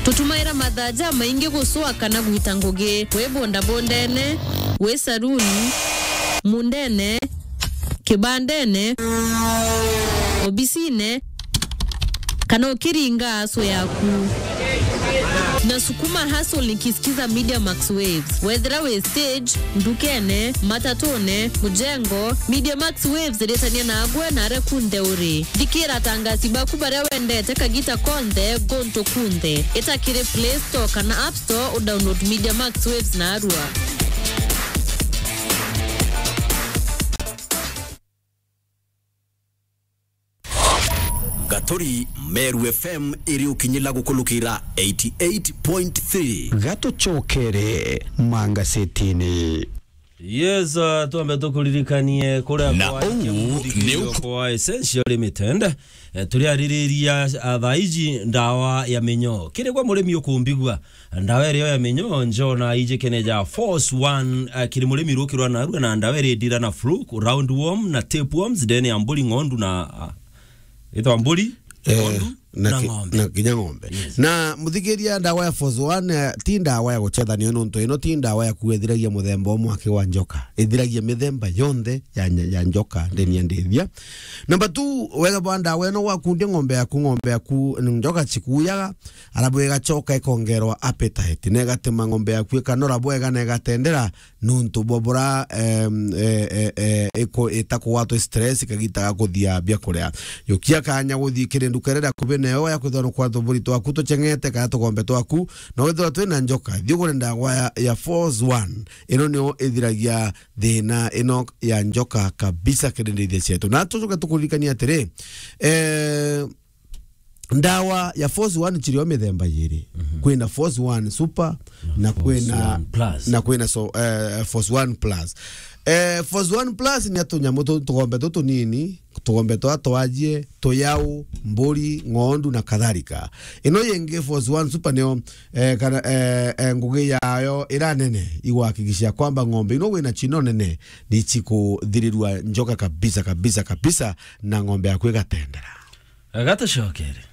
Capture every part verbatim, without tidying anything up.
Gutumaira mathaa jamaingi gucwa kana gwita ngugi, wi bondabondene, wi saruni, mundene, kibandene, obisine, kana ukiringa aso yaku. Na sukuma hustle nikisikiza Media Max Waves. Wethira wi stage, ndukene, matatune, mujengo, Media Max Waves iritania nagwe na aria kunthe uri. Thikira atangasi baku baria wendete kagita konthe, guntu kunthe. Ita kiri Play Store kana App Store u download Media Max Waves narua. Gaturi, Meru F M iri ukinyila gukulukira eighty eight point three. Gatucokere mangasetini. Yes, uh, twambe tukuririkanie kuria Na kwa uu muthikiririo ni uku- kwa Essential Limited. Eh, turiaririria, uh, thaa iji ndawa ya minyoo. Kiri gwa murimi ukumbigua, ndawa irio ya minyoo, njona iji kene ja Force One, uh, kiri murimi rukirwa narua na ndawa iri ndira na fluke, round worm na tapeworms, ndene ya mburi, ng'ondu na, uh, itwa mburi, eh, ng'ondu na na ki-, ng'ombe. Na kinya ng'ombe. Yes. Na muthikiria, ndawa ya Force One, eh, ti ndawa ya gucethanio nontu ino ti ndawa ya kuethiragia muthemba umwe aki wa njoka. Ithiragia mithemba yonthe ya nya-, ya njoka ndeni ya ndithia. Number two, wega bwa ndawa ino wakundia ng'ombe yaku, ng'ombe yaku, njoka cikuyaga, arabu igacoka ikongerwa appetite. Na igatuma ng'ombe yaku ikanora bwega na igatendera, nontu bwa bura, em, e, e, e, iku-, itakugwatwa stress kagita ga kuthia biakuria. Yukia kanya guthii kiri nduka iria iri akubi nayo ya kwithirwa nukwatwa buri twaku tucheng'ete kana tugombe twaku, na withirwa twina njoka, thii ugure ndawa ya, ya Force One. Ino nio ithiragia thina ino ya njoka kabisa kiri ndithia cietu. Na tucoke tukuririkania atiri, eh, ndawa ya Force One cirio mithemba yiri. Mhm. Kwina Force One Super na Force kwina, One Plus. Na kwina so, eh, Force One Plus. Eh, Force One Plus ni atunyamu tu, tugombe tu tunini, tugombe twa twajie, tuyau, mburi, ng'ondu na kadhalika. Ino yingi Force One Super nio, eh, kana, eh, eh, ngugi yayo ira nene igwakikisha kwamba ng'ombe ino wina chino nene ni chikuthirirua njoka kabisa, kabisa, kabisa, na ng'ombe yaku igatendera. Agatucokere.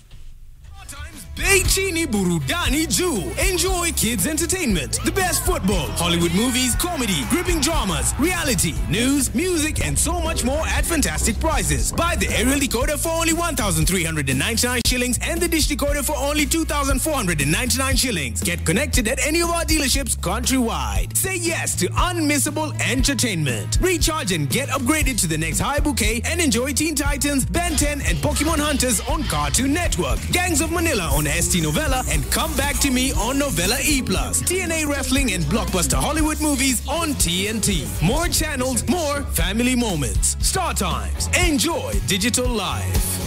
Bei chini, burudani juu. Enjoy kids entertainment, the best football, Hollywood movies, comedy, gripping dramas, reality, news, music, and so much more at fantastic prices. Buy the aerial decoder for only one thousand three hundred and ninety-nine shillings and the dish decoder for only two thousand four hundred and ninety-nine shillings. Get connected at any of our dealerships countrywide. Say yes to unmissable entertainment. Recharge and get upgraded to the next high bouquet and enjoy Teen Titans, Ben ten, and Pokemon Hunters on Cartoon Network, Gangs of Manila on S T Novella, and Come Back to Me on Novella E plus, T N A Wrestling and blockbuster Hollywood movies on T N T. More channels, more family moments. Star Times. Enjoy digital life.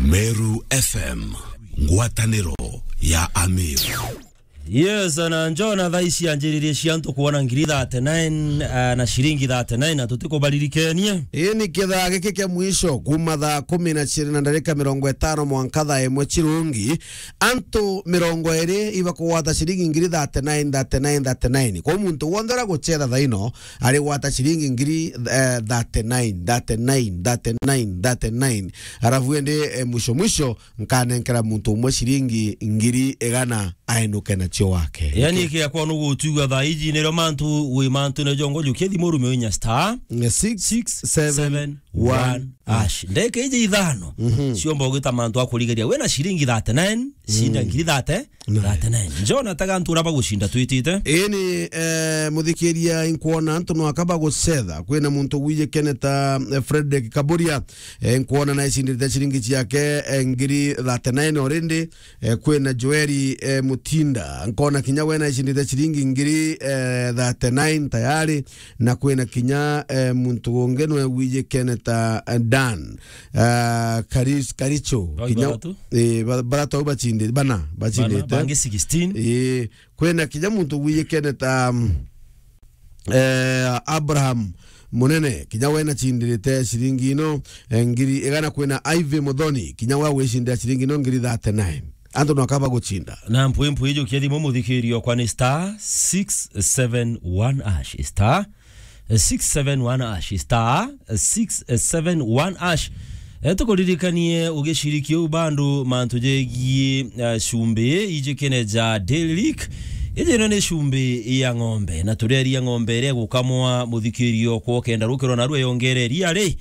Meru F M, ngwataniro ya Amir. Yes, na njona thaa ici anjiririe cia antu kuona ngiri thirty-nine, ah, na ciringi thirty-nine, na tutikubaririkenie. Ii ni kithaa giki kia mwisho, kuma thaa kumi na ciiri na ndarika mirongo itano mwanka thaa imwe cirungi. Antu mirongo iri ibakugwata ciringi ngiri thirty-nine, thirty-nine, thirty-nine. Kwa muntu wonthe uria gucetha thaa ino, arigwata ciringi ngiri, eh, thirty-nine, thirty-nine, thirty-nine, thirty-nine. Arafu indi, eh, mwisho mwisho, nkanenkera muntu umwe ciringi ngiri igana ainuke nacio wake. Yani, kia kwa nugu utiuga thaa iji nirio mantu wi mantu ne jongo jukia thimu rume inya star, eh, six seven one hash. Ndeke iji ithano. Mhm. Ciomba ugita mantu akurigeria. Wena ciringi thirty-nine, cinda ngiri thirty, thirty-nine. Njona taga antu uria bagucinda twitite. Ii ni, eh, muthikiria, inkwona antu no akaba gucetha. Kwina muntu wijikene ta, eh, Frederick Kaburia. Eh, nkwona na icindite ciringi ciake, eh, ngiri thirty-nine already. Eh, kwina Joeli, eh, Mutinda. Nkona kinya we na icindite ciringi ngiri, eh, thirty-nine tayari. Na kwina kinya, eh, muntu ungi nwe wijikene ta, eh, Dan. Ah, Karis-, Karicho. Oi, kinya, bathatu? Eh, ba-, bathatu au bacindi-, bana, bacindite. Bana, bangi sixteen. Eh, kwina kinya muntu wijikene ta, mm, eh, Abraham Munene, kinya we nacindirite ciringi ino, eh, ngiri igana. Kwina Ivy Muthoni, kinya we gwicindira ciringi ino ngiri thirty-nine. Antu no akaba gucinda. Na mpwi mpwi ijukia thimu muthikirio kwa ni star six seven one hash, star six seven one hash, star six seven one hash. E, tukuririkanie ugiciriki uu bandu mantu jegie, e, cumbi ijikene ja Dairy Lick. Iji ino ni cumbi ya ng'ombe, na tureria ng'ombe iria igukamwa muthikirio kwa ukenda rukirwa narua yongere iria ri,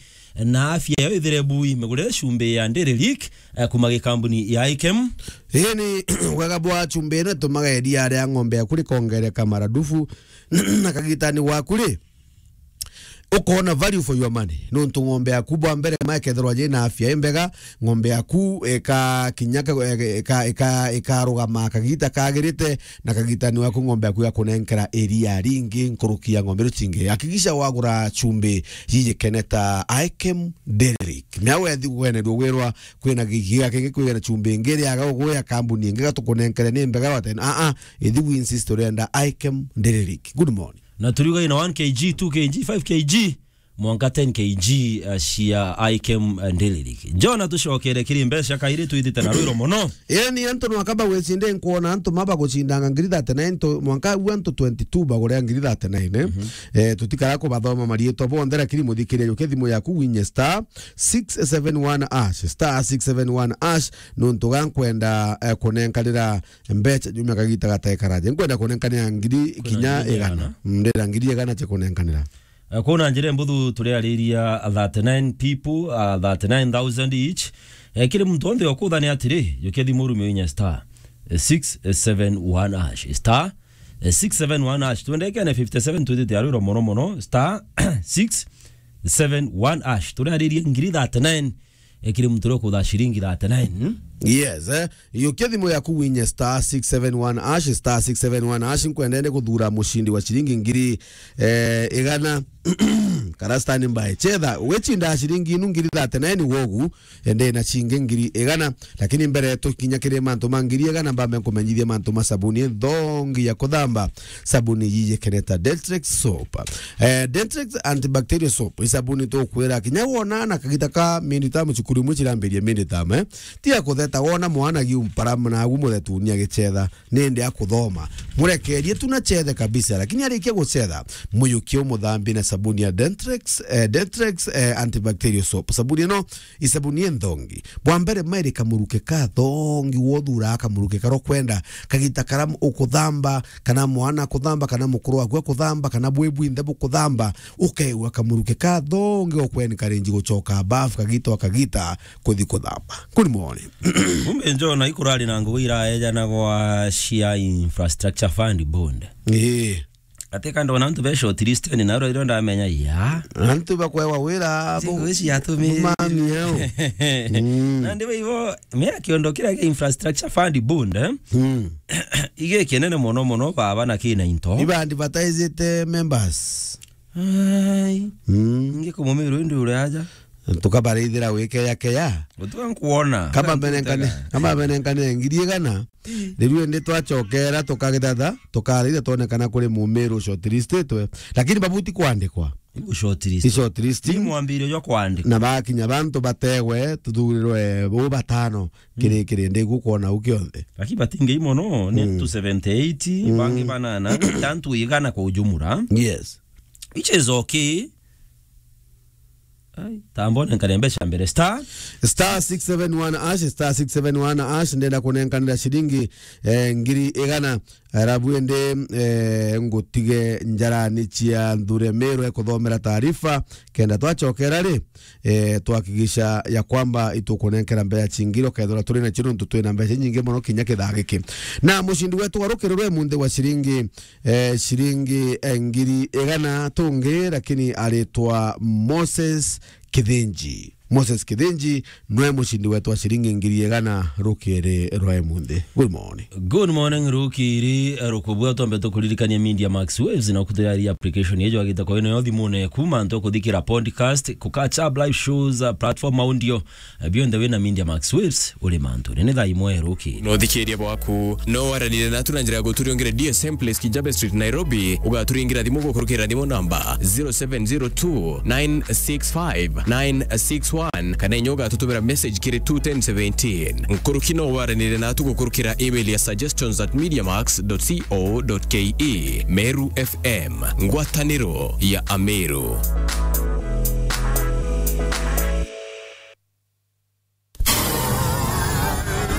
na afya yayo ithire bui. Migurire cumbi ya Dairy Lick, e, kuma gikambuni ya Ikem. Ii ni wega bwa cumbi ino itumaga iria ria ng'ombe yaku rikongereka maradufu, na kagitani waku ri, ukoona value for your money. Nontu ng'ombe yaku bwa mbere ma ikethirwa jina afya imbega, ng'ombe yaku ika kinya ka-, ika, ika, ikarugama kagita kagirite, na kagitani waku ng'ombe yaku igakunenkera iria ringi nkuruki ya ng'ombe iria cingi. Hakikisha wagura cumbi jijikene ta Ikem Dairy Lick. Mea wethi kugwenerua gwirwa kwina gigiga kingi kwigana cumbi ingi iriaga uguya kambuni ingi gatukunenkere ni mbega watene. Aa, ithi wi insist urenda Ikem Dairy Lick. Good morning. Na turiuga ina one K G, two K G, five K G, mwanka ten K G, uh, cia Ikem, uh, Dairy Lick. Jona, tucokere kiri mbeca kairi twithite na rwiro mono. Eni antu nwakaba gwicinde nkwona antu maba gucindanga ngiri thirty-nine to, mwanka u antu twenty-two bagure ngiri thirty-nine, eh? Mhm. Eh, tutikara kubathoma marietwa bonthe, lakini muthikiria jukia thimu yaku winye star six seven one hash, star six seven one hash, nontu ga nkwenda, eh, kunenkanira mbeca jumia kagita gatae karaje. Nkwenda kunenkanira ngiri kinya igana. Igana. Mm, ndira ngiri igana cia kunenkanira. Eh, kwona njira mbuthu turiariria thirty-nine people, uh, thirty-nine thousand each. Eh, kiri muntu onthe okuthania atiri, jukia thimu rume inya star, eh, six seven one hash. Star, eh, six seven one hash. Twendekene fifty-seven twithite arwiro mono mono. Star, six seven one hash. Turiariria ngiri thirty-nine, eh, kiri muntu uria ukutha ciringi thirty-nine. Yes, eh. Yukia thimu yaku winye star six seven one hash, star six seven one hash, nkwenda ende kuthura mucindi wa ciringi ngiri, eh, igana. Kara standby. Chetha, wichinda ciringi inu ngiri thirty-nine wogu, ende na cingi ngiri igana. Lakini mbere tukinya kiri mantu ma ngiri igana, mbambe nkumenyithia mantu ma sabuni nthongi ya kuthamba. Sabuni yiyikene ta Dentrex soap. Eh, Dentrex antibacterial soap. I sabuni tukwira kinya wona na kagita ka mindi tamu cukuru imwe cirambiria mindi tamu, eh. Tiga kutheta wona mwana giumpara na agu muthetuni agichetha nindi akuthoma. Murekerie tu na chethe kabisa, lakini arikia guchetha, muyukie umuthambie na sabuni ya Dentrex, eh, Dentrex, eh, antibacterial soap. Sabuni ino i sabuni inthongi. Bwa mbere, mairi kamuruke ka thongi, wothura kamuruke karo kwenda, kagita kara ukuthamba, kana mwana akuthamba, kana mukuru waku akuthamba, kana bwi bwinthe bukuthamba, ukeigua kamuruke ka thongi, ukwencourage gucoka bafu kagita o kagita kuthi kuthamba. Good morning. Kumbe njona ikurari na ngugi iraejanagwa cia infrastructure fund bond. Ii. Ati ka ndona antu be shortlist ni naro iro ndamenya ya. Antu bakwewa wira. Singo ici yatumi. Mami yao. Mm. Na ndiwe ivo, mea kiondo kira kia infrastructure fund bond, eh? Mm. Ige kinene mono mono baba na kina into. Iba advertisete members. Ai. Mm. Ngi kumumiru ndi uri aja. Tukabarithira wikeya keya. Gutuga nkuona. Kama benenkane, kama benenkane ngiri igana. Riu indi twacokera tukagithatha, tukarithia twonekana kuri mumiru shortlistitwe. Lakini babuti kwandikwa. Igu shortlist. I shortlist. Ni mwambirio jwa kwandika. Na bakinya bantu bategwe, tuthurirwe bo batano. Mm. Kiri, kiri, ndi gukwona u kionthe. Lakini batingei mono, ni mm, antu seventy-eight, mm, bangi banana, tantu igana kwa ujumura. Yes. Which is okay. Ai, tambone nkare mbeca mbere. Star? Star six seven one hash, star six seven one hash, ndenda kunenkanira ciringi, eh, ngiri igana. Arabu ende, eh, ngutige njarani cia nthure Meru ekuthomera taarifa, kenda twacokera ri, eh, twakigisha ya kwamba itukunenkera mbeca cingiri, ukethira turi nacio nontu twina mbeca nyingi mono kinya kithaa giki. Na mucindi wetu wa rukiri rwe munthi wa ciringi, eh, ciringi, eh, ngiri igana tungi, lakini aritwa Moses Kithinji. Moses Kithinji nwe mucindi wetu wa ciringi ngiri igana rukiri rwa imunthi. Good morning. Good morning, rukiri, eh, rukubua twambe tukuririkania Media Max Waves na kutiraria application yejo agita kwa ino yo thimune yaku, mantu kuthikira podcast, ku catch up live shows, uh, platform audio, eh, bionthe wina Media Max Waves, uri mantu. Nene thaa imwe rukiri. No thikiria bwaku, no waranire natu na njira ya guturiongera D S M Place, Kijabe Street, Nairobi, ugaturingira thimu gukurukira thimu namba zero seven zero two nine six five nine six one, kana inya ugatutumira message kiri two ten seventeen. Nkuruki no waranire natu gukurukira email ya suggestions at mediamax dot co dot ke. Meru F M, ngwataniro ya Ameru.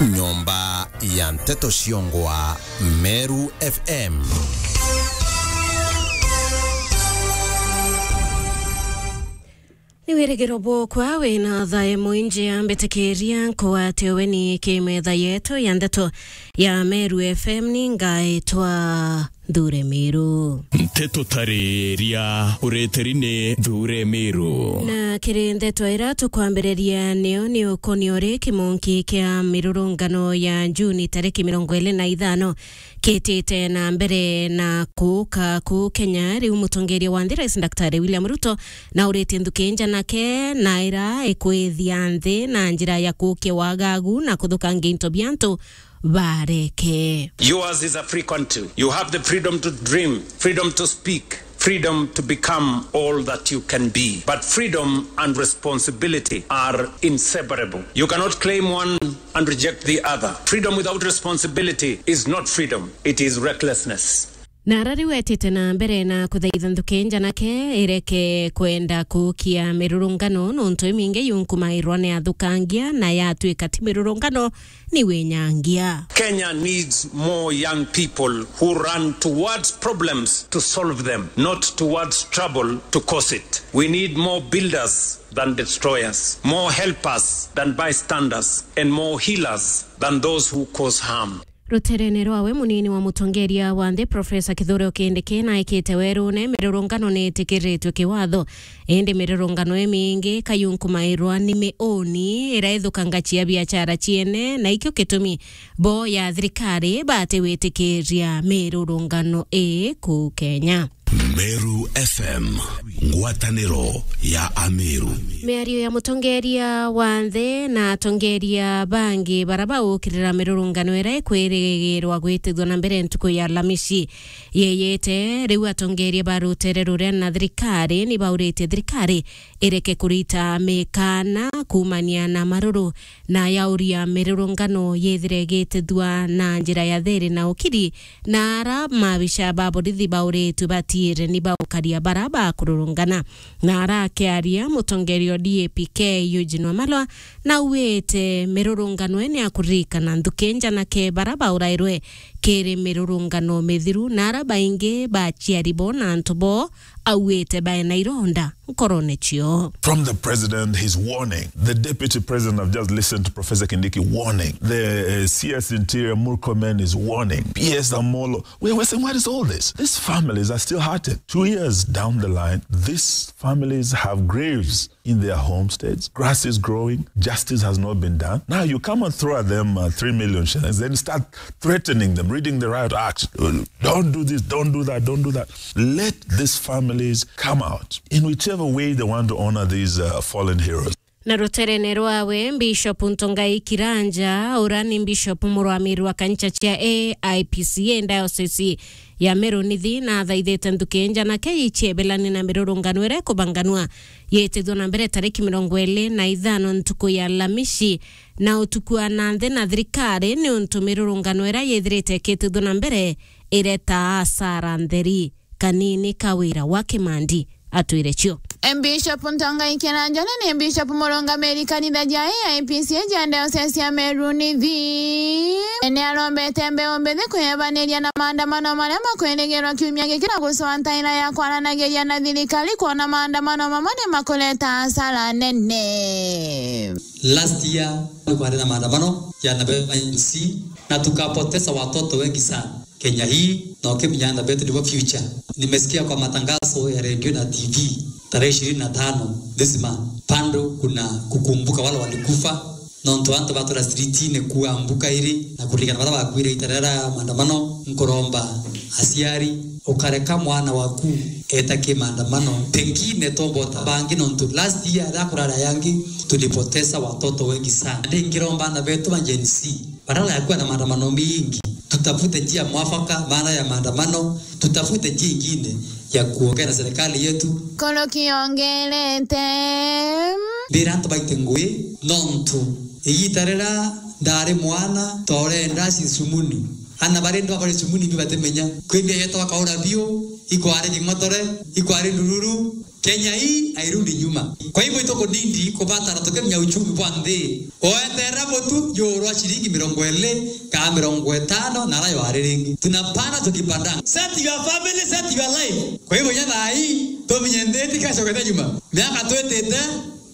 Nyomba ya nteto ciongwa Meru F M. Ni wirigiro bwokwa wina thae mwinji, ambitikiria nkwate weni kimetha yetu ya ndeto ya Meru F M. Ni ngaitwa Nthure Miru. Nteto tariria ureteri ni Nthure Miru. Na kiri ndeto ira tukwambiriria niyo ni ukonio ri kimonki kia mirurungano ya Juni tariki mirongo iri na ithano kitite na mbere na kuuka kuu Kenya. Riu mutongeria wa nthi, Rais Daktari William Ruto, na uritie nthuki njanake na ira ikwithia nthi na njira ya kuukia wagagu na kuthukangia into bia antu bareke. Yours is a free country. You have the freedom to dream, freedom to speak, freedom to become all that you can be. But freedom and responsibility are inseparable. You cannot claim one and reject the other. Freedom without responsibility is not freedom, it is recklessness. Na ara riu etite na mbere na kuthaitha nthuki njanake ireke kwenda kuukia mirurungano, nontu imingi yunkumairwa ni athukangia na yatuika ti mirurungano, ni winyangia. Kenya needs more young people who run towards problems to solve them, not towards trouble to cause it. We need more builders than destroyers, more helpers than bystanders, and more healers than those who cause harm. Ruterene rwawe, munini wa mutongeria wa nthi, Profesa Kithure Kindiki, naikite werune mirurungano ni itikiritwe kiwatho. Indi mirurungano imingi kayunkumairwa ni miuni ira ithukangachia biachara ciene, na ikio gitumi bo ya thirikari batiwitikiria mirurungano ii kuu Kenya. Meru F M, ngwataniro ya Ameru. Miario ya mutongeria wa nthi na atongeria bangi bara baukirira mirurungano ira ikwirigirwa gwitithua na mbere ntuku ya Alhamisi yeyete. Riu atongeria ba rutere ruria na thirikari ni bauritie thirikari ireke kurita mikana kuumania na maruru na yauria mirurungano yithire igitithua na njira ya thiri na ukiri, na ara maabisha ba borithi bauritwe batiire ni baukaria bara bakururungana. Na ara akiaria, mutongeria o D A P K Eugene Wamalwa nauite mirurungano ene ya kuririkana nthuki njanake bara baurairwe kiri mirurungano mithiru, na ara baingi baciari bo na antu bo auite baena ironda nkorone cio. From the president, his warning. The deputy president, I've just listened to Professor Kindiki warning. The, uh, C S Interior Murkomen is warning. P S Amolo. We're, we're saying, what is all this? These families are still hurting. Two years down the line, these families have graves in their homesteads. Grass is growing. Justice has not been done. Now you come and throw at them, uh, three million shillings, then start threatening them, reading the Riot Act. Uh, don't do this, don't do that, don't do that. Let these families come out in whichever way they want to honor these, uh, fallen heroes. Na ruterene rwawe, Bishop Ntongai Kiranja, ura ni Bishop murwamiri wa kanisa cia A I P C A diocese ya Meru Nithi, na athaithite nthuki njanake ichiebelani na mirurungano iria ikubanganua yitithua na mbere tariki mirongo iri na ithano ntuku ya Alhamisi, na utuku wa na nthi na thirikari, niuntu mirurungano iria yithirite ikitithua na mbere ireta asara ntheri. Kanini Kawira wa Kimandi atwire cio. Bishop Ntongai Kiranja ni Bishop murungamiri kanitha ja A I P C A ja diocese ya Meru Nithi, ni arombete mbeu mbithi kwiyebaniria na maandamano maria makwirigirwa kiumia giki na gucoa ntaira ya kwaranagiria na thirikari kwona maandamano mamwe ni makureta asara nene. Last year ni kwari na maandamano ya na M C na tukapoteza watoto wengi sana. Kenya hii, na ukimenya ana betu nibo future. Nimesikia kwa matangazo ya redio na T V tarehe ishirini na tano this month, bado kuna kukumbuka wale walikufa, nontu antu batura streetine kuambuka iri na kuririkana baria bakwire ita riria ria maandamano. Nkuromba aciari, ukareka mwana waku eta ki maandamano, pengine tombota bangi, nontu last year riria kurari yangi tulipoteza watoto wengi sana. Ndi ngiromba ana betu ba Gen Z, badala ya kuwa na maandamano mingi, tutafute njia mwafaka baada ya maandamano, tutafute njia ingine ya kuongea na serikali yetu. Koroki ongerete. Mbira antu baite ngui, nontu igita riria ndari mwana, tore ndaci cumuni. Ana bari ndwa bari cumuni imbi batimenya. Kwithia yetu akaura biu, ikwari King'otore, ikwari Ndururu, Kenya hii hairudi nyuma. Kwa hivyo, itukunindi kubatara tukinya uchumi bwa nthi. Oeterera butu jurwa ciringi mirongo iri kana mirongo itano na ara yari ringi. Tunapanda tukipandanga. Set your family, set your life. Kwa hivyo, nya thaa hii, tumenye nthi itikacokete nyuma. Miaka twitite,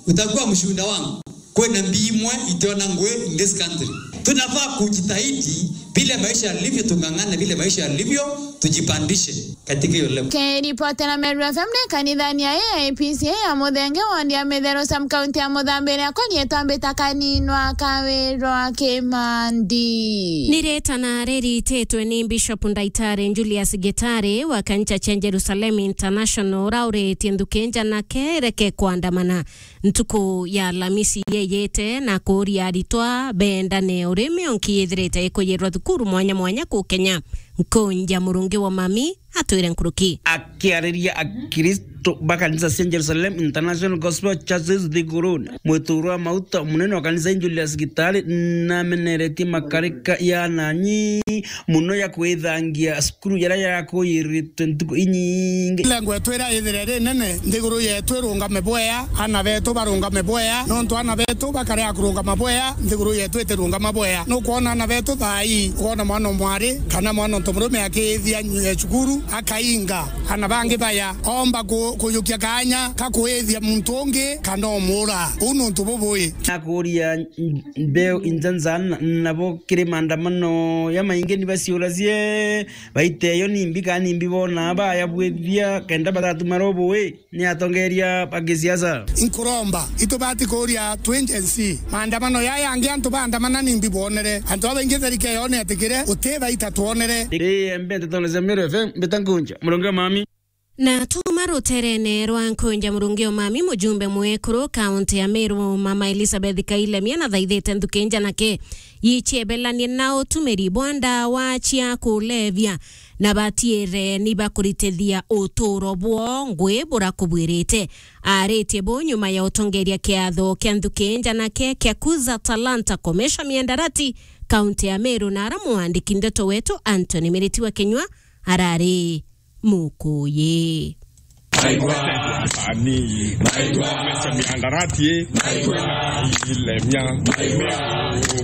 utakuwa mshuhuda wangu. Kwina mbi imwe itiona ngui in this country. Tunafaa kujitahidi vile maisha yalivyo, tung'ang'ane vile maisha yalivyo, tujipandishe katika hiyo level. Kiripotera Meru F M ni kanithani ya A I P C A ya Muthenge, wondi ya Mitheru, sub county ya Muthambi, iria konietwa mbita kaninwa Kawirwa Kimandi. Ni ritana rirititwe ni Bishop Ndaitari Julius Gitari wa kanisa cia Jerusalem International, urauritie nthuki njanake ireke kwandamana ntuku ya Alamisi yeyite na kuuria aritwa bendane uria mionki yithirite ikuyirwa thukuru mwanya mwanya ku Kenya. Nkunja Murungi wa Mami atwire nkuruki. Akiariria Akristo ba kanisa cia Jerusalem International Gospel Churches Thiguruni, mwiturwa wa mauta munene wa kanisa Julius Gitari nameneretie makarika ya nanyi muno ya kwithangia cukuru jaria jakuyiritwe ntuku inyingi. Lengo yetu iria ithire ri nene, nthiguru yetu irungame bwea, ana betu barungame bwea, nontu ana betu bakarea kurungama bwea, nthiguru yetu itirungama bwea. Nukwona ana betu thaa ii, ukoona mwana o mwari kana mwana o ntomurume akiithia nyu-, cukuru, akainga, ana bangi baya, omba ku-, kujukia kaanya ka kuithia muntu ungi kana umura. Uu ni untu bubui. Nakuria mbeu injanza na-, nabo kiri maandamano ya maingi ni baciuracie, baite yo nimbi kana nimbi bona baya bwithia kenda batatuma robo wi ni atongeria ba gisiasa. Inkuromba, itubati kuria twi Gen Z. Maandamano yaya yangi antu baandamana nimbi bwonere? Antu babaingi tharike yo ni atikire, uti baita twonere. Ii, mbe ntetone cia Meru F M, mbita Nkunja, Murungi wa Mami. Na tuma ruterene rwa Nkunja Murungi o Mami, mujumbe mwekuru kaunti ya Meru, Mama Elizabeth Kailemia, nathaithite nthuki njanake yichiebelanie na utumiri bwa ndawa cia kulevya, na batiire ni bakuritithia uturo bwoo ngui burakubwirite. Aritie buu nyuma ya utongeria kiatho kia nthuki njanake kia Kuza Talanta Commercial Miandarati, kaunti ya Meru, na ara mwandiki ndeto wetu Anthony Miriti wa Kinyua arari Mukuyi. Naigua ani, naigua mecha miandarati, naigua ilemia, naigua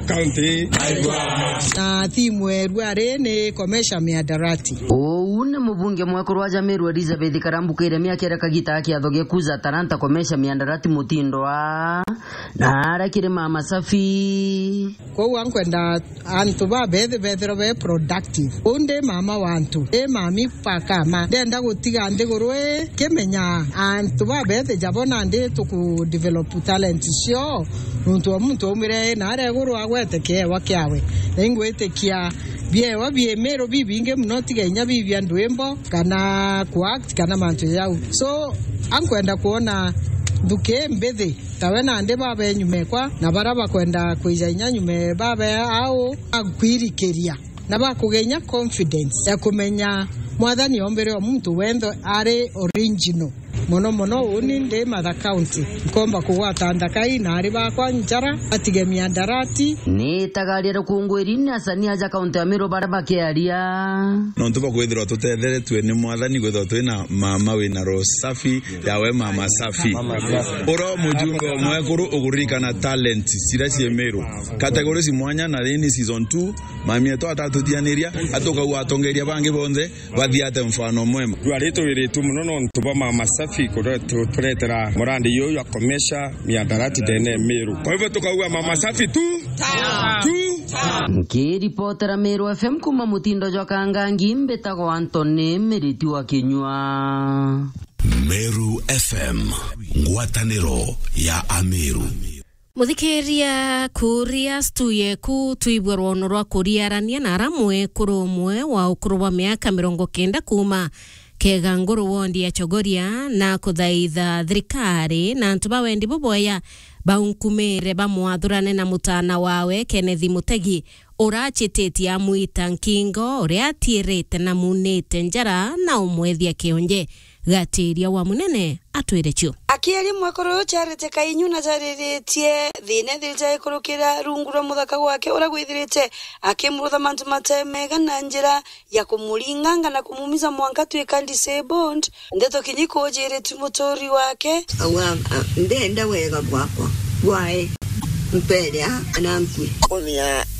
county, naigua. Na thimu erua ri ni komesha miandarati. Uu ni mubunge mwekuru wa Jameru Elizabeth Karambu Kairemia akiera kagita ga kiatho gia Kuza Talanta komesha miandarati mutindo wa na ara kiri Mama Safi. Kwou ankwenda antu babethi bethirwe be productive. Uu ndi mama wa antu, ndi mami pakama. Ndenda gutiga nthiguru ii kimenya antu babethi jabo nandi tuku develop talent cio, nuntu o muntu aumire na aria iguru agwete kiewa kiawe. Na ingwitikia biewa bie Meru bibingi muno, tiga inya bibia ndwimbo kana ku act kana mantu jau. So, ankwenda kwona nthuki mbithi tawe nandi babe nyuma ekwa, na bara bakwenda kwija inya nyuma babe au akwirikiria, na bakugenya confidence ya kumenya Mwathani ombere o muntu wenthe ari original. Mono mono uni ndi Matha County, nkomba kugwata nthakai na ari bakwa njara, batige miandarati. Ni itagaria rukungwiri ni asani aja kaunti ya Meru bara bakiaria. Nontu bwa kwithirwa tutetheretue ni Mwathani, kwithirwa twina mama wina roho safi, yawe Mama Safi. Mama Safi. Ura mujumbe o mwekuru uguririkana talent ciria cii Meru. Categories mwanya na rini season two, mami etu atatutianiria, atukau atongeria bangi bonthe, bathiate mfano mwema. Rua ritwiritwe muno nontu bwa Mama Safi kuretu-, turetera murandi yuyu ya komesha miandarati ndene Meru. Kwa hivyo tukauga Mama Safi tu, tu. Nkiripotera Meru F M kuma mutindo jwa Kangangi, mbitagwa Anthony Miriti wa Kinyua. Meru F M, ngwataniro ya Ameru. Muthikiria, kuria stu yeku twibwe rwono rwa kuriarania na ara mwekuru umwe wa ukuru bwa miaka mirongo kenda kuma Keganguru wondi ya Chogoria na kuthaitha thirikari na antu ba wendi bubwaya baunkumire bamwathurane na mutana wawe Kenneth Mutegi, urachititie amwita nkingo, uria atiirite na munite njara na umwethia kionje. Gatiria wa munene atwire cio. Akiaria mwekuru uyu Charity Kainyu na jariritie thina ithirite ikurukira rungu rwa muthaka gwake uria gwithirite akimurutha mantu mate mega na njira ya kumuringanga na kumumiza mwanka twika disabled. Ndeto kinyi kujiritwe muturi wake. Awa, a, ndenda wega bwakwa, bwae, mpere a, na nkui. Kumia